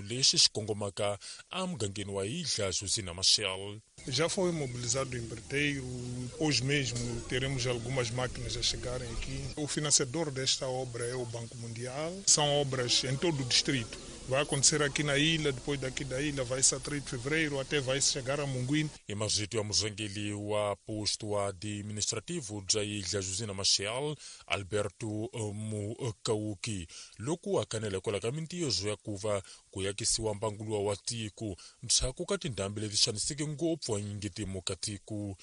Lexi xi kongomaka emugangeni wa Ilha Josina Machel. Já foi mobilizado o empreiteiro, hoje mesmo teremos algumas máquinas a chegarem aqui. O financiador desta obra é o Banco Mundial. São obras em todo o distrito. Vai acontecer aqui na ilha, depois daqui da ilha vai-se a 3 de fevereiro, até vai chegar a Munguini. Hi marito ya murhangeri wa posto administrativo bya Ilha Josina Machel, Alberto Mukauki, loko a kanela kwala ka mintirho ya ku va ku yakisiwa mbangu wa tiko ndzhaku ka tindhambi leti xaniseke ngopfu anyingitimo ka tiko.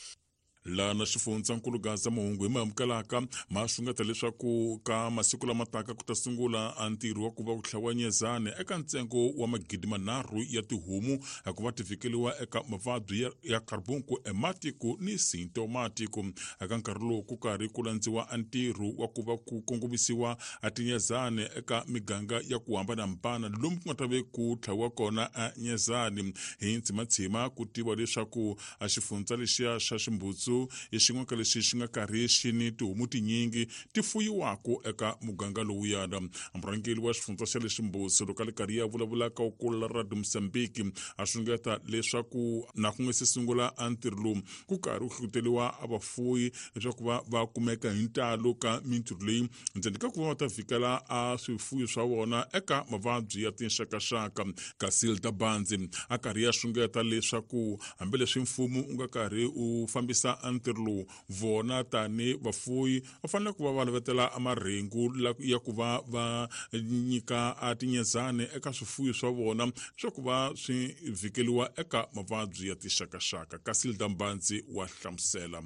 Lana xifundzankulu Gaza mahungu hi ma amukelaka ma xungeta leswaku ka masiku lama taka ku ta sungula a ntirho wa ku va ku tlhawa nyezane eka ntsengo wa 3,000 ya tihomu ku va ti vhikeliwa eka mavabyi ya carbuncle hematiko ni sintomatiko. Eka nkarhi lowu ku karhi ku landziwa a ntirho wa ku va ku kongomisiwa a tinyezane eka miganga ya ku hambanahambana lomu ku nga ta ve ku tlhawiwa kona a nyezane. Hi ntsimatshima ku tiva leswaku a xifundza lexiya xa Ximbutsu i xin'we ka lexi xi nga karhi xi ni tihomu tinyingi ti fuyiwaka eka muganga lowuyana. Murhangeri wa xifundza xa le Ximbutsu loko a li karhi ya vulavula ka ukula Radio Mozambique a xungeta leswaku na ku nga se sungula a ntirho lowu ku karhi ku hlohloteriwa a vafuyi leswaku va kumeka hi ntalo ka mintirho leyi ndzeni ka ku va va ta vhikela a swifuyo swa vona eka mavabyi ya tinxakaxaka. Casilda Banzi a karhi ya xungeta leswaku hambileswi mfumo wu nga karhi wu fambisa ntirho lowu, vona tani vafuyi va fanele ku va va lavetela marhengu ya ku va va nyika a tinyezane eka swifuyo swa vona leswaku va swi vhikeliwa eka mavabyi ya tinxakaxaka. Casilda Mbanzi wa hlamusela.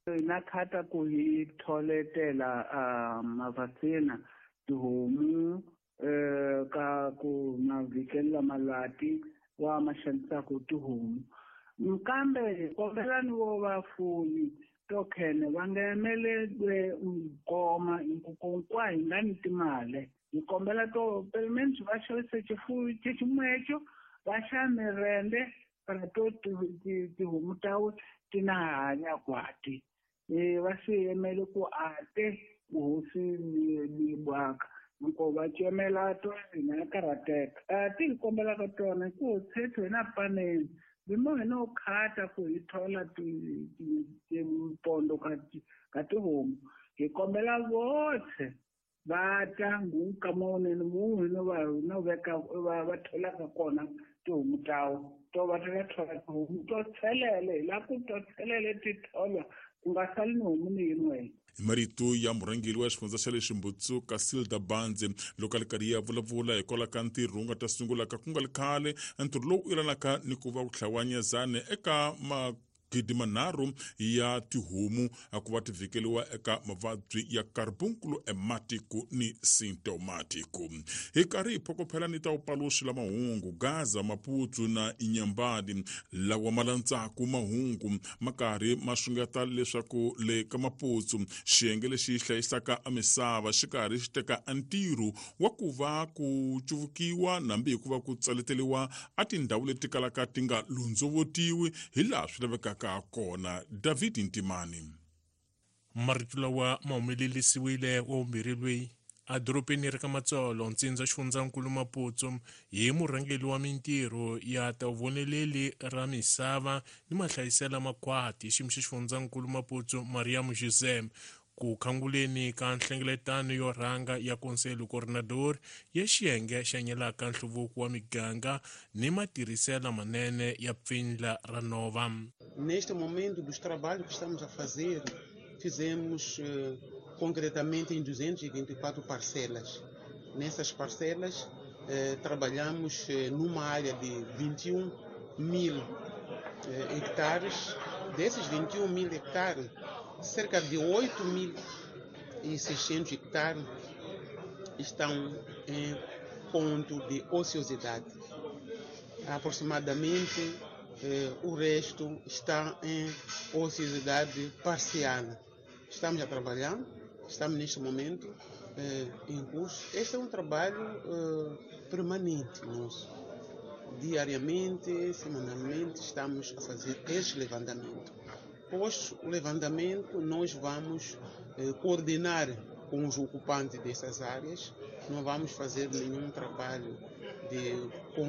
Hi na khata ku hi tholetela mavaccina tihomu ka ku ma vhikelela malwati wa ma xanisaka tihomu. Kambe hi kombela ni vo vafuyi to khene va nga emelelwe nkoma hinkwa hi nga ni timali. Hi kombela to pelo menos va xavise xifuyo xeximwecho va xa mirende para to tihomu ta ti na hanya kwati. Va swi yemele ku ate hosi ni bwaka. Loko va cemela to hina karhateka. Ti hi kombelaka tona ku tshetho hina paneni. Bimo hina u khata ku hi thola timpondo ka tihomu. Hi kombela votlhe va ta nguka monene munhu no va no veka va tholaka kona tihomu tawo. To va ta thola tihomu to tshelele, hi la ku to tshelele ti tholwa ku nga sali ni homu ni yin'we. Hi marito ya murhangeri wa xifundza xa le Ximbutsu Casilda Banzi loko a li karhi ya vulavula hikwalaho ka ntirho wu nga ta sungulaka ku nga li khale, ntirho lowu yelanaka ni ku va ku tlhawa nyezane eka 3,000 ya tihomu ku va ti vhikeliwa eka mavabyi ya carbuncle hematiko ni sintomatiko. Hi karhi hi phokophela ni ta upaluxi la mahungu Gaza Maputo na Inyambani lawa ma landzaku mahungu ma karhi ma xungeta leswaku le ka Maputo xiyenge lexi hlayisaka a misava xi karhi xi teka a ntirho wa ku va ku cuvukiwa nambi hikuva ku tsaleteliwa a tindhawu leti kalaka ti nga londzovotiwi hi laha swi lavekaka kona. David Ntimani. Marito lawa ma humelerisiwile wa vumbirhi loyi a dorobeni ra ka Matsolo ntsindza xifundzankulu Maputo hi murhangeri wa mintirho ya tavoneleli ra misava ni mahlayisela makhwati xiyimo xa xifundzankulu Maputo Mariam José ku khanguleni ka nhlengeletano yo rhanga ya Conselho Coordenador ya xiyenge xa nyelaka nhluvuko wa miganga ni matirhiselo manene ya pfindla ra nova. Neste momento dos trabalhos que estamos a fazer, fizemos concretamente em 224 parcelas. Nessas parcelas, trabalhamos numa área de 21 mil hectares. Desses 21 mil hectares, cerca de 8.600 hectares estão em ponto de ociosidade. Aproximadamente, o resto está em ociosidade parcial. Estamos a trabalhar, estamos neste momento em curso. Este é um trabalho permanente nosso. Diariamente, semanalmente, estamos a fazer este levantamento. Após o levantamento, nós vamos coordenar com os ocupantes dessas áreas. Não vamos fazer nenhum trabalho de